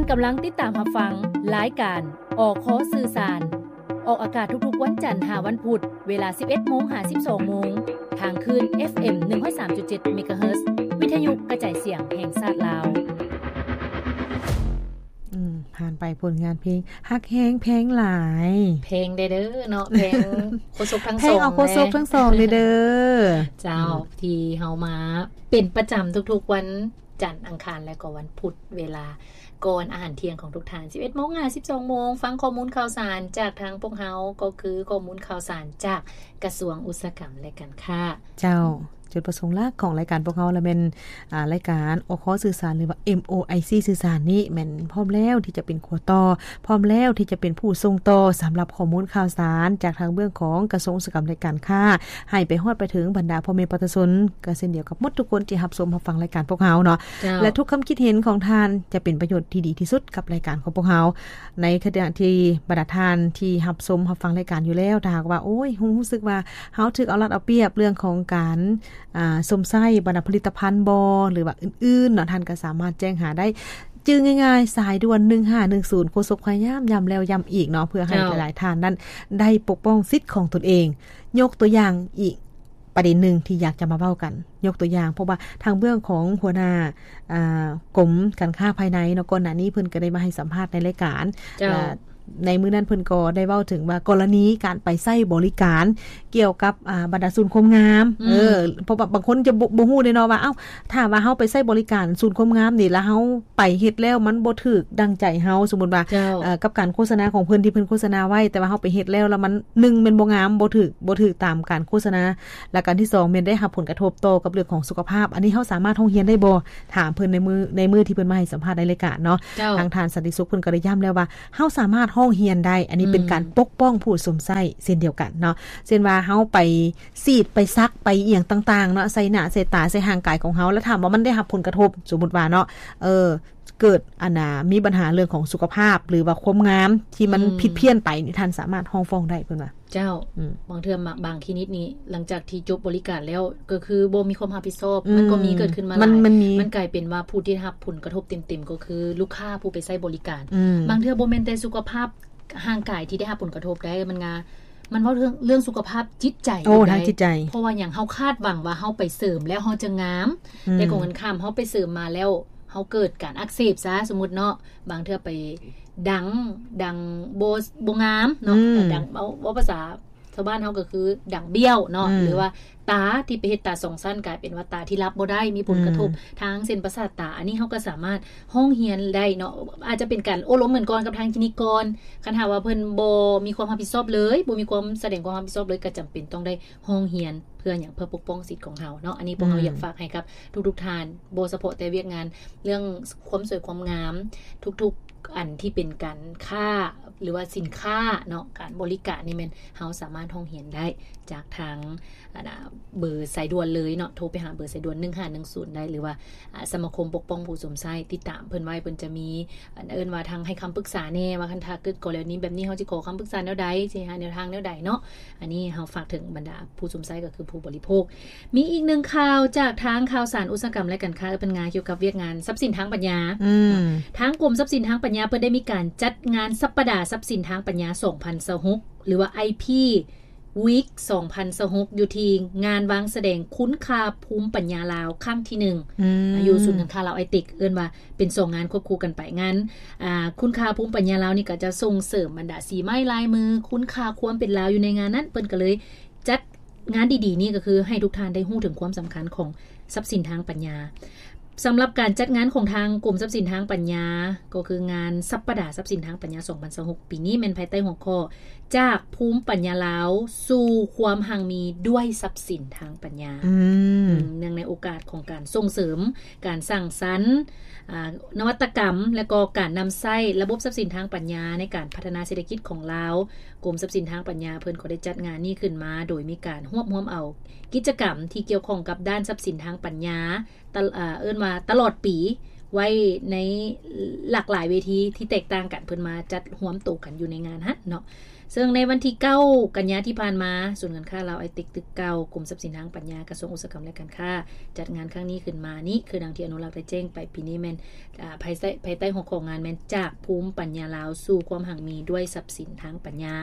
ກຳລັງຕິດຕາມຮັບຟັງລາຍການ ອຄ ສື່ສານ ອອກອາກາດທຸກໆວັນຈັນຫາວັນພຸດ ເວລາສິບເອັດໂມງຫາສິບສອງໂມງ ທາງຄື້ນ ເອັຟເອັມ ໜຶ່ງຮ້ອຍສາມຈຸດເຈັດ ເມກາເຮີດ ວິທະຍຸກະຈາຍສຽງແຫ່ງຊາດລາວ. ອືມ ຜ່ານໄປຜົນງານເພງ ຮັກແຮງແພງຫຼາຍ ແພງແດ່ເດີເນາະ ແພງໂຄສົກທັງສອງ ແພງເອົາໂຄສົກທັງສອງເດີ ເຈົ້າ ອືມ ທີ່ເຮົາມາເປັນປະຈຳທຸກໆວັນ ຈັນ ອັງຄານ ແລະກໍວັນພຸດ ເວລາກ່ອນອາຫານທ່ຽງຂອງທຸກທ່ານ ສິບເອັດໂມງຫາສິບສອງໂມງ ຟັງຂໍ້ມູນຂ່າວສານຈາກທາງພວກເຮົາ ກໍຄືຂໍ້ມູນຂ່າວສານຈາກກະຊວງອຸດສາຫະກຳ ແລະ ການຄ້າ. ເຈົ້າ ຈຸດປະສົງຫຼັກຂອງລາຍການພວກເຮົາລະແມ່ນ ອາ ລາຍການ ອຄ ສື່ສານ ຫຼືວ່າ ເອັມໂອໄອຊີ ສື່ສານນີ້ ແມ່ນພ້ອມແລ້ວທີ່ຈະເປັນຂົວຕໍ່ ພ້ອມແລ້ວທີ່ຈະເປັນຜູ້ສົ່ງຕໍ່ສຳລັບຂໍ້ມູນຂ່າວສານຈາກທາງເບື້ອງຂອງກະຊວງອຸດສາຫະກຳ ແລະ ການຄ້າ ໃຫ້ໄປຮອດໄປເຖິງບັນດາພໍ່ແມ່ປະຊາຊົນ ກໍເຊັ່ນດຽວກັບໝົດທຸກຄົນທີ່ຮັບຊົມຮັບຟັງລາຍການພວກເຮົາເນາະ ເຈົ້າ ແລະ ທຸກຄຳຄິດເຫັນຂອງທ່ານຈະເປັນປະໂຫຍດທີ່ດີທີ່ສຸດກັບລາຍການຂອງພວກເຮົາ. ໃນຂະນະທີ່ບັນດາທ່ານທີ່ຮັບຊົມຮັບຟັງລາຍການຢູ່ແລ້ວ ຖ້າຫາກວ່າ ໂອ້ຍ ຮູ້ ຮູ້ສຶກວ່າເຮົາຖືກເອົາລັດເອົາປຽບເລື່ອງຂອງການ ອາ ຊົມໃຊ້ບັນດາຜະລິດຕະພັນບໍ ຫຼືວ່າອື່ນໆເນາະ ທ່ານກໍສາມາດແຈ້ງຫາໄດ້ ຈື່ງ່າຍໆ ສາຍດ່ວນໜຶ່ງຫ້າໜຶ່ງສູນ ໂຄສົກພະຍາຍາມຢ້ຳແລ້ວຢ້ຳອີກເນາະ ເພື່ອໃຫ້ ເຈົ້າ ຫຼາຍໆທ່ານນັ້ນໄດ້ປົກປ້ອງສິດຂອງຕົນເອງ. ຍົກຕົວຢ່າງອີກປະເດັນໜຶ່ງທີ່ຢາກຈະມາເວົ້າກັນ ຍົກຕົວຢ່າງ ເພາະວ່າທາງເບື້ອງຂອງຫົວໜ້າ ອາ ກົມການຄ້າພາຍໃນເນາະ ກ່ອນໜ້ານີ້ເພິ່ນກໍໄດ້ມາໃຫ້ສຳພາດໃນລາຍການ ເຈົ້າ ແລະ ໃນມື້ນັ້ນເພິ່ນກໍໄດ້ເວົ້າເຖິງວ່າ ກໍລະນີການໄປໃຊ້ບໍລິການກ່ຽວກັບ ອາ ບັນດາສູນຄວາມງາມ ອືມ ເອີ ເພາະວ່າບາງຄົນຈະບໍ່ ບໍ່ຮູ້ເດ້ເນາະວ່າ ເອົ້າ ຖ້າວ່າເຮົາໄປໃຊ້ບໍລິການສູນຄວາມງາມນີ້ ແລ້ວເຮົາໄປເຮັດແລ້ວມັນບໍ່ຖືກດັ່ງໃຈເຮົາ ສົມມຸດວ່າ ເຈົ້າ ເອີ ກັບການໂຄສະນາຂອງເພິ່ນທີ່ເພິ່ນໂຄສະນາໄວ້ ແຕ່ວ່າເຮົາໄປເຮັດແລ້ວ ແລ້ວມັນ ໜຶ່ງ ແມ່ນບໍ່ງາມ ບໍ່ຖືກ ບໍ່ຖືກຕາມການໂຄສະນາ ແລະ ການທີສອງແມ່ນໄດ້ຮັບຜົນກະທົບຕໍ່ກັບເລື່ອງຂອງສຸຂະພາບ ອັນນີ້ເຮົາສາມາດຮ້ອງຮຽນໄດ້ບໍ່? ຖາມເພິ່ນໃນມື້ ໃນມື້ທີ່ເພິ່ນມາໃຫ້ສຳພາດໃນລາຍການເນາະ ເຈົ້າ ທາງທ່ານສັນຕິສຸກເພິ່ນກໍໄດ້ຢ້ຳແລ້ວວ່າ ເຮົາສາມາດຮ້ອງຮຽນໄດ້ ອັນນີ້ເປັນ ອືມ ການປົກປ້ອງຜູ້ຊົມໃຊ້ເຊັ່ນດຽວກັນເນາະ ເຊັ່ນວ່າເຮົາໄປສີດ ໄປສັກ ໄປອີ່ຫຍັງຕ່າງໆເນາະ ໃສ່ໜ້າໃສ່ຕາ ໃສ່ຮ່າງກາຍຂອງເຮົາ ແລ້ວຖາມວ່າມັນໄດ້ຮັບຜົນກະທົບ ສົມມຸດວ່າເນາະ ເອີ ເກີດ ອັນນ່າ ມີບັນຫາເລື່ອງຂອງສຸຂະພາບ ຫຼືວ່າຄວາມງາມທີ່ມັນ ອືມ ຜິດພຽນໄປນີ້ ທ່ານສາມາດຮ້ອງຟ້ອງໄດ້ ເພິ່ນວ່າ. ເຈົ້າ ອືມ ບາງເທື່ອ ບາງຄລີນິກນີ້ ຫຼັງຈາກທີ່ຈົບບໍລິການແລ້ວ ກໍຄືບໍ່ມີຄວາມຮັບຜິດຊອບ ອືມ ມັນກໍມີເກີດຂຶ້ນມາຫຼາຍ ມັນ ມັນມີ ມັນກາຍເປັນວ່າຜູ້ທີ່ຮັບຜົນກະທົບເຕັມໆ ກໍຄືລູກຄ້າຜູ້ໄປໃຊ້ບໍລິການ ອືມ ບາງເທື່ອບໍ່ແມ່ນແຕ່ສຸຂະພາບຮ່າງກາຍທີ່ໄດ້ຮັບຜົນກະທົບໄດ໋ ມັນງາ ມັນເວົ້າເລື່ອງ ເລື່ອງສຸຂະພາບຈິດໃຈ ໂອ້ ອີກໄດ໋ ທາງຈິດໃຈ ເພາະວ່າຫຍັງ ເຮົາຄາດຫວັງວ່າເຮົາໄປເສີມແລ້ວເຮົາຈະງາມ ອືມ ແຕ່ກົງກັນຂ້າມ ເຮົາໄປເສີມມາແລ້ວ ເຮົາເກີດການອັກເສບຊະ ສົມມຸດເນາະ ບາງເທື່ອໄປດັງ ດັງບໍ່ ບໍ່ງາມເນາະ ອືມ ດັງ ເວົ້າ ເວົ້າພາສາຊາວບ້ານເຮົາກໍຄືດັງບ້ຽວເນາະ ອືມ ຫຼືວ່າຕາທີ່ໄປເຮັດຕາສອງຊັ້ນ ກາຍເປັນວ່າຕາທີ່ຫຼັບບໍ່ໄດ້ ມີຜົນກະທົບ ອືມ ທາງເສັ້ນປະສາດຕາ ອັນນີ້ເຮົາກໍສາມາດຮ້ອງຮຽນໄດ້ເນາະ ອາດຈະເປັນການໂອ້ລົມກັນກ່ອນກັບທາງຄລີນິກກ່ອນ ຄັນຫາກວ່າເພິ່ນບໍ່ມີຄວາມຮັບຜິດຊອບເລີຍ ບໍ່ມີຄວາມສະແດງຄວາມຮັບຜິດຊອບເລີຍ ກໍຈຳເປັນຕ້ອງໄດ້ ຮ້ອງຮຽນເພື່ອຫຍັງ? ເພື່ອປົກປ້ອງສິດຂອງເຮົາເນາະ ອັນນີ້ພວກເຮົາ ອືມ ຢາກຝາກໃຫ້ກັບທຸກໆທ່ານ ບໍ່ສະເພາະແຕ່ວຽກງານເລື່ອງຄວາມສວຍຄວາມງາມ ທຸກໆອັນທີ່ເປັນການຄ້າ ຫຼືວ່າສິນຄ້າເນາະ ການບໍລິການນີ້ແມ່ນເຮົາສາມາດຮ້ອງຮຽນໄດ້ຈາກທາງ ອັນນ່າ ເບີສາຍດ່ວນເລີຍເນາະ ໂທໄປຫາເບີສາຍດ່ວນໜຶ່ງຫ້າໜຶ່ງສູນໄດ້ ຫຼືວ່າ ອາ ສະມາຄົມປົກປ້ອງຜູ້ຊົມໃຊ້ ຕິດຕາມເພິ່ນໄວ້ ເພິ່ນຈະມີ ອັນ ເອີ້ນວ່າທາງໃຫ້ຄຳປຶກສາແດ່ ວ່າຄັນຖ້າເກີດກໍລະນີແບບນີ້ ເຮົາຊິຂໍຄຳປຶກສາແນວໃດ ຊິຫາແນວທາງແນວໃດເນາະ ອັນນີ້ເຮົາຝາກເຖິງບັນດາຜູ້ຊົມໃຊ້ ກໍຄືຜູ້ບໍລິໂພກ. ມີອີກໜຶ່ງຂ່າວຈາກທາງຂ່າວສານອຸດສາຫະກຳ ແລະ ການຄ້າ ເອີ້ນວ່າກ່ຽວກັບວຽກງານຊັບສິນທາງປັນຍາ ອືມ ທາງກົມຊັບສິນທາງປັນຍາ ເພິ່ນໄດ້ມີການຈັດງານສັບປະດາຊັບສິນທາງປັນຍາ ສອງພັນຊາວຫົກ ຫຼືວ່າ ໄອພີ ວີກ ສອງພັນຊາວຫົກ ຢູ່ທີ່ງານວາງສະແດງຄຸນຄ່າພູມປັນຍາລາວຄັ້ງທີໜຶ່ງ ອືມ ຢູ່ສູນການຄ້າລາວໄອເຕັກ ເອີ້ນວ່າເປັນສອງງານຄວບຄູ່ກັນໄປ ງານ ອ່າ ຄຸນຄ່າພູມປັນຍາລາວນີ້ກໍຈະສົ່ງເສີມບັນດາສີໄມ້ລາຍມື ຄຸນຄ່າຄວາມເປັນລາວຢູ່ໃນງານນັ້ນ ເພິ່ນກໍເລີຍຈັດງານດີໆນີ້ ກໍຄືໃຫ້ທຸກທ່ານໄດ້ຮູ້ເຖິງຄວາມສຳຄັນຂອງຊັບສິນທາງປັນຍາ. ສຳລັບການຈັດງານຂອງທາງກົມຊັບສິນທາງປັນຍາ ກໍຄືງານສັບປະດາຊັບສິນທາງປັນຍາ ສອງພັນຊາວຫົກ ປີນີ້ແມ່ນພາຍໃຕ້ຫົວຂໍ້ ຈາກພູມປັນຍາລາວສູ່ຄວາມຮັ່ງມີດ້ວຍຊັບສິນທາງປັນຍາ ອືມ ເນື່ອງໃນໂອກາດຂອງການສົ່ງເສີມການສ້າງສັນ ອາ ນະວັດຕະກຳ ແລະ ກໍການນຳໃຊ້ລະບົບຊັບສິນທາງປັນຍາໃນການພັດທະນາເສດຖະກິດຂອງລາວ, ກົມຊັບສິນທາງປັນຍາເພິ່ນກໍໄດ້ຈັດງານນີ້ຂຶ້ນມາ ໂດຍມີການຮວບຮວມເອົາກິດຈະກຳທີ່ກ່ຽວຂ້ອງກັບດ້ານຊັບສິນທາງປັນຍາ ຕະ ເອີ້ນວ່າຕະຫຼອດປີ ໄວ້ໃນຫຼາກຫຼາຍເວທີທີ່ແຕກຕ່າງກັນ ເພິ່ນມາຈັດຮວມໂຕກັນຢູ່ໃນງານຫັ້ນເນາະ. ເຊິ່ງໃນວັນທີເກົ້າ ກັນຍາທີ່ຜ່ານມາ ສູນການຄ້າລາວໄອເຕັກຕຶກເກົ່າ ກົມຊັບສິນທາງປັນຍາ ກະຊວງອຸດສາຫະກຳ ແລະ ການຄ້າ ຈັດງານຄັ້ງນີ້ຂຶ້ນມານີ້ ຄືດັ່ງທີ່ອະນຸລັກໄດ້ແຈ້ງໄປ ປີນີ້ແມ່ນ ອາ ພາຍໃຕ້ ພາຍໃຕ້ຫົວຂໍ້ງານແມ່ນ ຈາກພູມປັນຍາລາວສູ່ຄວາມຮັ່ງມີດ້ວຍຊັບສິນທາງປັນຍາ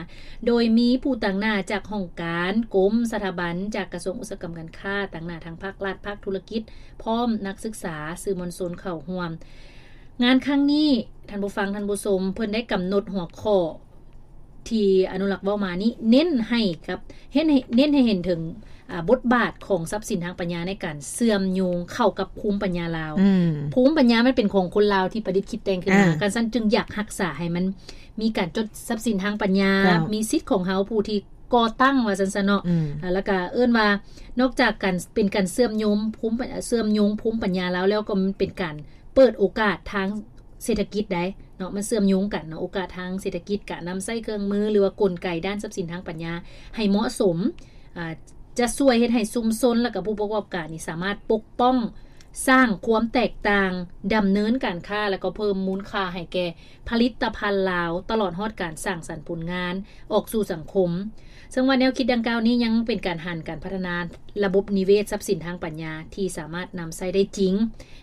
ໂດຍມີຜູ້ຕາງໜ້າຈາກຫ້ອງການ, ກົມ, ສະຖາບັນ, ຈາກກະຊວງອຸດສາຫະກຳການຄ້າ, ຕາງໜ້າທາງພາກລັດ, ພາກທຸລະກິດ, ພ້ອມນັກສຶກສາ, ສື່ມວນຊົນເຂົ້າຮ່ວມ. ງານຄັ້ງນີ້ ທ່ານຜູ້ຟັງ, ທ່ານຜູ້ຊົມ, ເພິ່ນໄດ້ກຳນົດຫົວຂໍ້ທີ່ອະນຸລັກເວົ້າມານີ້ ເນັ້ນໃຫ້ກັບ ເນັ້ນໃຫ້ ເນັ້ນໃຫ້ເຫັນເຖິງ ອ່າ ບົດບາດຂອງຊັບສິນທາງປັນຍາໃນການເຊື່ອມໂຍງເຂົ້າກັບພູມປັນຍາລາວ. ອືມ ພູມປັນຍາມັນເປັນຂອງຄົນລາວທີ່ປະດິດຄິດແຕ່ງຂຶ້ນມາ. ອ່າ ຄັນຊັ້ນຈຶ່ງຢາກຮັກສາໃຫ້ມັນມີການຈົດຊັບສິນທາງປັນຍາ, ເຈົ້າ ມີສິດຂອງເຮົາຜູ້ທີ່ກໍ່ຕັ້ງວ່າຊັ້ນຊະເນາະ. ອືມ ອ່າ ແລ້ວກະເອີ້ນວ່າ ນອກຈາກການເປັນການເຊື່ອມໂຍງພູມ ເຊື່ອມໂຍງພູມປັນຍາລາວແລ້ວ ກໍມັນເປັນການເປີດໂອກາດທາງເສດຖະກິດໄດ໋ເນາະ, ມັນເຊື່ອມໂຍງກັນເນາະ, ໂອກາດທາງເສດຖະກິດ, ການນຳໃຊ້ເຄື່ອງມື ຫຼືວ່າກົນໄກດ້ານຊັບສິນທາງປັນຍາໃຫ້ເໝາະສົມ ອ່າ ຈະຊ່ວຍເຮັດໃຫ້ຊຸມຊົນ ແລະ ກະຜູ້ປະກອບການນີ້ສາມາດປົກປ້ອງ ສ້າງຄວາມແຕກຕ່າງ, ດຳເນີນການຄ້າ ແລະ ກໍເພີ່ມມູນຄ່າໃຫ້ແກ່ຜະລິດຕະພັນລາວ, ຕະຫຼອດຮອດການສ້າງສັນຜົນງານອອກສູ່ສັງຄົມ. ເຊິ່ງວ່າແນວຄິດດັ່ງກ່າວນີ້ຍັງເປັນການຫັນການພັດທະນາລະບົບນິເວດຊັບສິນທາງປັນຍາທີ່ສາມາດນຳໃຊ້ໄດ້ຈິງ,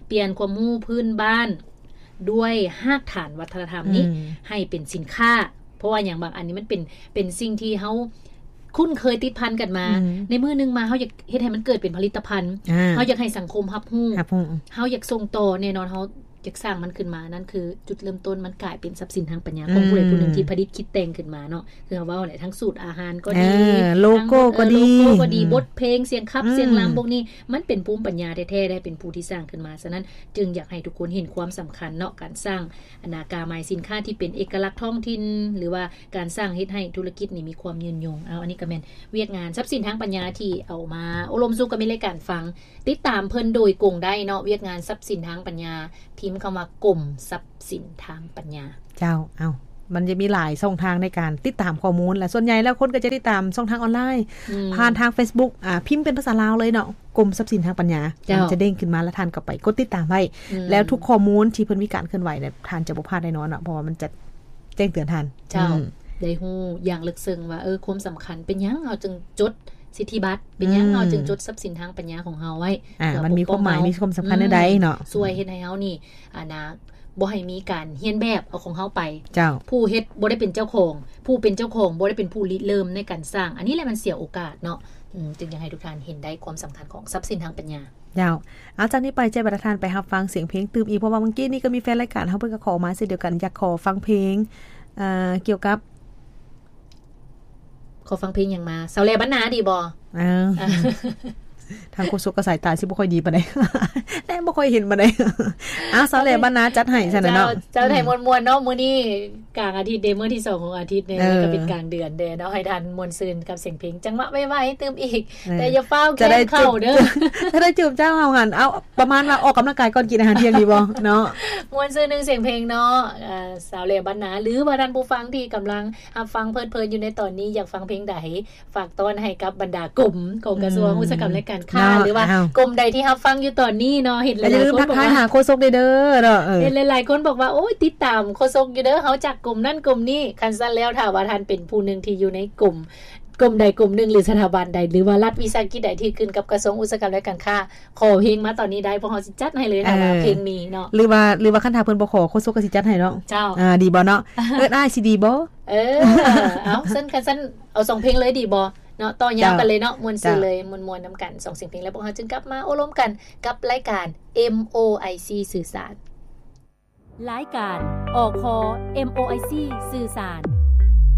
ປ່ຽນຄວາມຮູ້ພື້ນບ້ານ ດ້ວຍຮາກຖານວັດທະນະທຳນີ້ ອືມ ໃຫ້ເປັນສິນຄ້າ. ເພາະວ່າຫຍັງ? ບາງອັນນີ້ມັນເປັນ ເປັນສິ່ງທີ່ເຮົາຄຸ້ນເຄີຍຕິດພັນກັນມາ. ອືມ ໃນມື້ໜຶ່ງມາ ເຮົາຢາກເຮັດໃຫ້ມັນເກີດເປັນຜະລິດຕະພັນ, ອ່າ ເຮົາຢາກໃຫ້ສັງຄົມຮັບຮູ້, ຮັບຮູ້ ເຮົາຢາກສົ່ງຕໍ່. ແນ່ນອນ ເຮົາຢາກສ້າງມັນຂຶ້ນມາ. ນັ້ນຄືຈຸດເລີ່ມຕົ້ນ, ມັນກາຍເປັນຊັບສິນທາງປັນຍາ ອືມ ຂອງຜູ້ໃດຜູ້ໜຶ່ງທີ່ປະດິດຄິດແຕ່ງຂຶ້ນມາເນາະ. ຄືເຮົາເວົ້າແຫຼະ ທັງສູດອາຫານກໍດີ, ເອີ ໂລໂກ້ກໍດີ, ເອີ ໂລໂກ້ກໍດີ, ອືມ ບົດເພງ, ສຽງຂັບ, ອືມ ສຽງລຳ ພວກນີ້ ມັນເປັນພູມປັນຍາແທ້ໆ ໄດ້ເປັນຜູ້ທີ່ສ້າງຂຶ້ນມາ. ສະນັ້ນ ຈຶ່ງຢາກໃຫ້ທຸກຄົນເຫັນຄວາມສຳຄັນເນາະ ການສ້າງອັນນາກາໝາຍສິນຄ້າທີ່ເປັນເອກະລັກທ້ອງຖິ່ນ ຫຼືວ່າການສ້າງເຮັດໃຫ້ທຸລະກິດນີ້ມີຄວາມຍືນຍົງ. ເອົາ ອັນນີ້ກໍແມ່ນວຽກງານຊັບສິນທາງປັນຍາທີ່ເອົາມາໂອ້ລົມສູ່ກັບມິດລາຍການຟັງ. ຕິດຕາມເພິ່ນໂດຍກົງໄດ້ເນາະ, ວຽກງານຊັບສິນທາງປັນຍາ, ພິມຄຳວ່າກົມຊັບສິນທາງປັນຍາ. ເຈົ້າ ເອົ້າ ມັນຈະມີຫຼາຍຊ່ອງທາງໃນການຕິດຕາມຂໍ້ມູນ ແລະ ສ່ວນໃຫຍ່ແລ້ວຄົນກໍຈະຕິດຕາມຊ່ອງທາງອອນລາຍ ອືມ ຜ່ານທາງເຟສບຸກ ອ່າ ພິມເປັນພາສາລາວເລີຍເນາະ, ກົມຊັບສິນທາງປັນຍາ. ເຈົ້າ ມັນຈະເດ້ງຂຶ້ນມາ ແລ້ວທ່ານກໍໄປກົດຕິດຕາມໄວ້ ອືມ ແລ້ວທຸກຂໍ້ມູນທີ່ເພິ່ນມີການເຄື່ອນໄຫວເນຍ ທ່ານຈະບໍ່ພາດແນ່ນອນເນາະ, ເພາະວ່າມັນຈະແຈ້ງເຕືອນທ່ານ. ເຈົ້າ ອືມ ໄດ້ຮູ້ຢ່າງເລິກເຊິ່ງວ່າ ເອີ ຄວາມສຳຄັນ ເປັນຫຍັງເຮົາຈຶ່ງຈົດສິດທິບັດ, ເປັນຫຍັງ ອືມ ເຮົາຈຶ່ງຈົດຊັບສິນທາງປັນຍາຂອງເຮົາໄວ້ ອ່າ ເພື່ອ ມັນມີຄວາມໝາຍ ປົກປ້ອງເຮົາ ມີຄວາມສຳຄັນແນວໃດເນາະ. ອືມ ຊ່ວຍເຮັດໃຫ້ເຮົານີ້ ອັນນ່າ ບໍ່ໃຫ້ມີການຮຽນແບບເອົາຂອງເຮົາໄປ. ເຈົ້າ ຜູ້ເຮັດບໍ່ໄດ້ເປັນເຈົ້າຂອງ, ຜູ້ເປັນເຈົ້າຂອງບໍ່ໄດ້ເປັນຜູ້ລິເລີ່ມໃນການສ້າງ. ອັນນີ້ແຫຼະມັນເສຍໂອກາດເນາະ. ອືມ ຈຶ່ງຢາກໃຫ້ທຸກທ່ານເຫັນໄດ້ຄວາມສຳຄັນຂອງຊັບສິນທາງປັນຍາ. ເຈົ້າ ເອົາ ຈາກນີ້ໄປ ຈະໃຫ້ບັນດາທ່ານໄປຮັບຟັງສຽງເພງຕື່ມອີກ, ເພາະວ່າມື້ກີ້ນີ້ກໍມີແຟນລາຍການເຮົາເພິ່ນກໍຂໍມາເຊັ່ນດຽວກັນ, ຢາກຂໍຟັງເພງ ເອີ ກ່ຽວກັບ ຂໍຟັງເພງຫຍັງມາ? ສາວແຫຼບ້ານນາດີບໍ່? ເອີ ອ່າ ທາງໂຄສົກກໍສາຍຕາຊິບໍ່ຄ່ອຍດີປານໃດ ແລະ ບໍ່ຄ່ອຍເຫັນປານໃດ. ເອົາ ສາວແຫຼບ້ານນາຈັດໃຫ້ຊັ້ນນະເນາະ. ເຈົ້າ ເຈົ້າ ໃຫ້ມ່ວນໆເນາະ. ມື້ນີ້ກາງອາທິດເດ້, ມື້ທີສອງຂອງອາທິດເດ້, ເອີ ແລ້ວກໍເປັນກາງເດືອນເດ້ເນາະ, ໃຫ້ທ່ານມ່ວນຊື່ນກັບສຽງເພງ ຈັງຫວະໄວໆຕື່ມອີກ. ເອີ ແຕ່ຢ່າຟ້າວແຂ່ງເຂົ້າເດີ, ຈະໄດ້ຈື່ມເຈົ້າເຮົາຫັ້ນ. ເອົາ ປະມານວ່າອອກກຳລັງກາຍກ່ອນກິນອາຫານທ່ຽງດີບໍ່ເນາະ? ມ່ວນຊື່ໜຶ່ງສຽງເພງເນາະ. ເອີ ສາວແຫຼບ້ານນາ ຫຼືວ່າທ່ານຜູ້ຟັງທີ່ກຳລັງຮັບຟັງເພີດເພີນຢູ່ໃນຕອນນີ້ ຢາກຟັງເພງໃດ ຝາກຕ້ອນໃຫ້ກັບບັນດາກົມຂອງກະຊວງ ອືມ ອຸດສາຫະກຳ ແລະ ການຄ້າ ເນາະ. ເອົາ ຫຼືວ່າກົມໃດທີ່ຮັບຟັງຢູ່ຕອນນີ້ເນາະ, ເຫັນຫຼາຍໆຄົນບອກວ່າ ຢ່າລືມທັກທາຍຫາໂຄສົກເດີເນາະ. ເອີ ເຫັນຫຼາຍໆຄົນບອກວ່າ ໂອ້ຍ ຕິດຕາມໂຄສົກຢູ່ເດີ, ເຮົາຈັກກົມນັ້ນກົມນີ້. ຄັນຊັ້ນແລ້ວ ຖ້າວ່າທ່ານເປັນຜູ້ໜຶ່ງທີ່ຢູ່ໃນກົມ ກົມໃດກົມໜຶ່ງ ຫຼື ສະຖາບັນໃດ ຫຼືວ່າລັດວິສາຫະກິດໃດທີ່ຂຶ້ນກັບກະຊວງອຸດສາຫະກຳ ແລະ ການຄ້າ, ຂໍເພງມາຕອນນີ້ໄດ້, ພວກເຮົາຊິຈັດໃຫ້ເລີຍ ເອີ ຖ້າວ່າເພງມີເນາະ. ຫຼືວ່າ ຫຼືວ່າຄັນຖ້າເພິ່ນບໍ່ຂໍ ໂຄສົກກໍຊິຈັດໃຫ້ເນາະ. ເຈົ້າ ອ່າ ດີບໍ່ເນາະ? ເອີ້ນອ້າຍຊິດີບໍ່? ເອີ ເອົາ ຊັ້ນ ຄັນຊັ້ນເອົາສອງເພງເລີຍດີບໍ່ເນາະ? ຕໍ່ຍາວກັນເລີຍເນາະ. ເຈົ້າ ມ່ວນຊື່ເລີຍ ມ່ວນໆນຳກັນສອງສຽງເພງ ແລ້ວພວກເຮົາຈຶ່ງກັບມາໂອ້ລົມກັນກັບລາຍການ ເອັມ ໂອ ໄອ ຊີ ສື່ສານ. ລາຍການ ອຄ ເອັມ ໂອ ໄອ ຊີ ສື່ສານ.